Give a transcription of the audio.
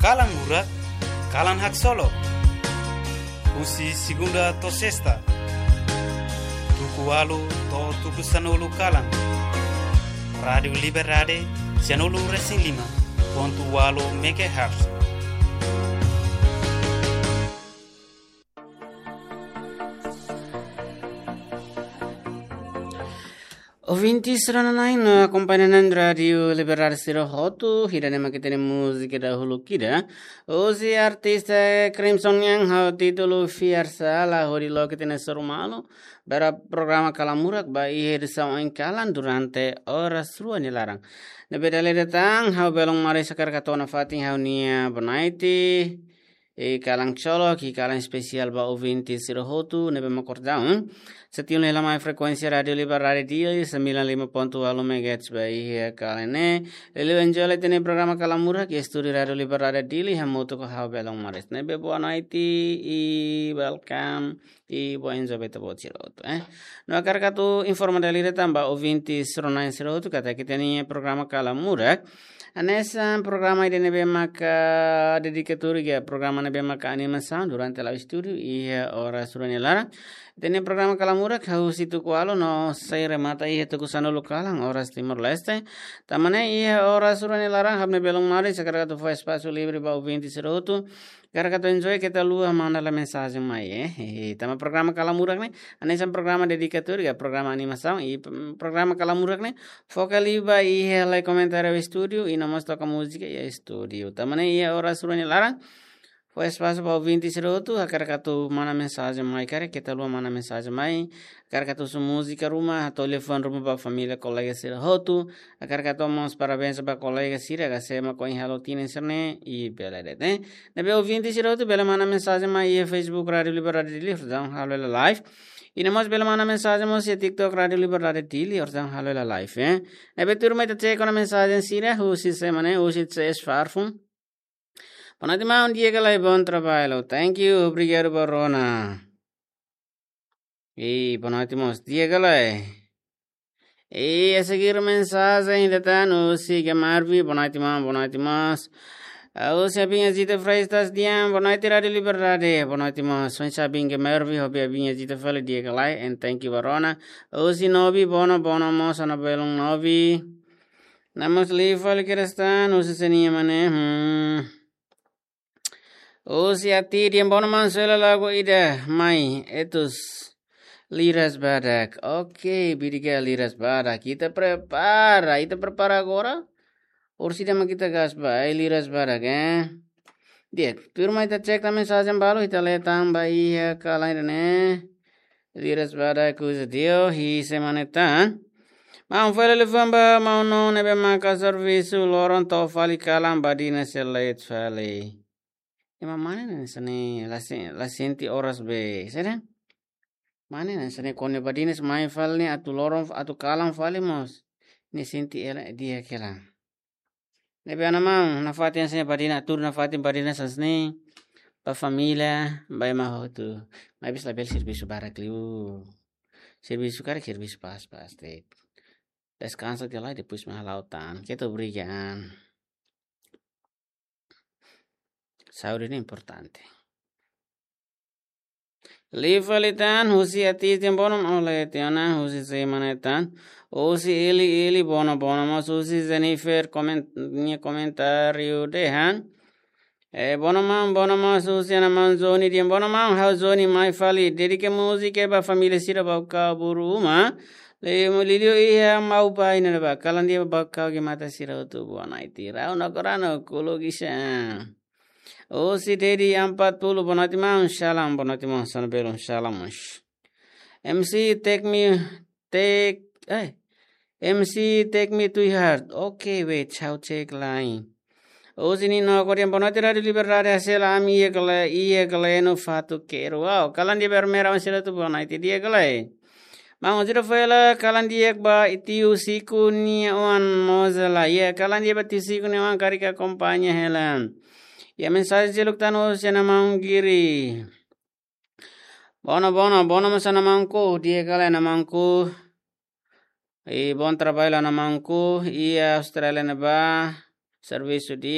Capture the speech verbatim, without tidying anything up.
Kalan Murak, kalan haksolok. Husi segunda to'o sesta, tuku ualu to'o tuku sanulu kalan. Rádiu Liberdade, sanulu resin lima pontu ualu megahertz. Ouvinte sira-na'in no akompañante Rádiu Liberdade sira hotu, ida-ne'e mak ita-nia múzika dahuluk ida. Husi artista Crimson nian, ho títulu Fiar Sala, hodi loke ita-nia soru malu ba programa Kalan Murak ba iha edisaun oin kalan durante oras rua nia laran. Ne'ebé dala ida tan, ha'u belun maris hakarak hato'o nafatin ha'u-nia bonaite, i kalan haksolok, i kalan espesiál ba ouvinte sira hotu ne'ebé mak kordau, hmm? Sei tiun hela mai frekuénsia Rádiu Liberdade Dili, sembilan lima pontu ualu megahertz ba iha kalan ne'e. Liuliu enjoy hela ita-nia programa Kalan Murak iha estúdiu Rádiu Liberdade Dili, hamutuk ho ha'u belun maris. Ne'ebé boa noite i welcome, i boa enjoy ba ita-boot sira hotu, eh. No hakarak atu informa dala ida tan ba ouvinte sira-na'in sira hotu katak ita-nia programa Kalan Murak hanesan programa ida ne'ebé maka dedika tuir iha programa ne'ebé maka animasaun durante la'o estúdiu iha oras rua nia laran. Ita-nia programa Kalan Murak husi tuku ualu no sei remata iha tuku sanulu kalan oras Timor-Leste. Tanba ne'e iha oras rua nia laran ha'u-nia belun maris hakarak atu fó espasu livre ba ouvinte sira hotu, hakarak atu enjoy, keta haluha manda lai mensajen mai, eh. Tanba programa Kalan Murak ne'e hanesan programa dedika tuir iha programa animasaun, i, mm, programa Kalan Murak ne'e foka liu ba iha halai komentáriu estúdiu i no mós toka múzika iha estúdiu. Tanba ne'e iha oras rua nia laran fó espasu ba ouvinte sira hotu, hakarak atu manda mensajen mai karik, keta haluha manda mensajen mai, hakarak atu husu múzika ruma, hato'o liafuan ruma ba família, kolega sira hotu, hakarak atu mós parabéns ba kolega sira ka sema ko in halo tinen serne i bele de'it, eh. Ne'ebé ouvinte sira hotu bele manda mensajen mai iha Facebook Rádiu Liberdade Dili, orsida halo hela live. I no mós bele manda mensajen mós iha TikTok Rádiu Liberdade Dili, orsida halo hela live, eh. Ne'ebé tuirmai ita check ona mensajen sira, husi sé mak ne'e, husi C S Farfun. Boa noite, maun, di'ak ka lae, bom trabalho. Thank you, obrigadu ba rona. I boa noite mós, di'ak ka lae. I a seguir mensajen ida tan, husi Gamarvi, boa noite, maun, boa noite mós. Ah, husi Abin Azita Freitas Dian, boa noite, Rádiu Liberdade, boa noite mós. Husi Abin Gamarvi, hobi Abin Azita fali, di'ak ka lae, and thank you ba rona. Husi Novi, bono, bono mós, ana belun Novi. Namus li fali kerestan, husi sé nian mak ne'e, hmm. Husi Ati, di'ak, bono maun, soe hela lagu ida mai, Etus, Liras Badak. Oke, obrigadu, Liras Badak. Ita prepara, ita prepara agora. Orsida mak ita gas ba, eh, Liras Badak, eh. Di'ak, tuirmai ita check tan mensajen balu, ita lee tan ba iha kalan ne'e. Liras Badak husu dio, hi sé mak ne'e tan. Maun, fó hela liafuan ba maun Nonu ne'ebé maka servisu loron to'o fali kalan, badinas sei la'o fali. Ema mane ne'e sene la se-, la sente oras be, saida? Mane ne'e sene kuandu badinas mai fali ne'e atu loron, atu kalan fali mós ne'e sente hela di'ak hela. Ne'ebé ana maun, nafatin hanesan ne'e badinas, atu nafatin badinas hanesan ne'e ba família, ba ema hotu. Maibé labele servisu barak liu. Servisu karik servisu pas-pas de'it. Deskansa tiha lai, depois mak hala'o tan. Keta obriga an. Saúde ne'e importante. Li fali tan, husi Ati, di'ak, bono maun, ole tiha ona, husi sé mak ne'e tan. Husi Eli, Eli, bono, bono mós, husi Jennifer, komen-, nia komentáriu dehan. Eh, bono maun, bono mós, husi ana maun Joni, di'ak, bono maun, ha'u Joni mai fali, dedika múzika ba família sira Baucau, Buru uma. Liuliu iha Maubai ne'ebá, kalan di'ak ba Baucau, Guimata sira hotu, boa noite. Rau no korano, kulu gisa. Husi Dedi empat puluh, boa noite maun, shalom, boa noite maun, sana belun, shalom. M C take me, take, eh, M C take me to heart. Okay, wait, chau cek lain. Husi Nino Korian, boa noite, Rádiu Liberdade, hase'e hela ami iha kele, iha kele no fatuk keru. Wow, kalan di'ak ba ema sira hotu, boa noite, di'ak ka lae. Maun, orsida fó hela kalan di'ak ba tiu Siku nia oan mós hela. Iha kalan di'ak ba tiu Siku nia oan karik akompaña hela. Iha mensajen seluk tan husi ana maun Giri. Bono, bono, bono mós ana maunku, di'ak ka lae ana maunku. I bom trabalho ana maunku, iha Austrália ne'ebá, servisu di'ak.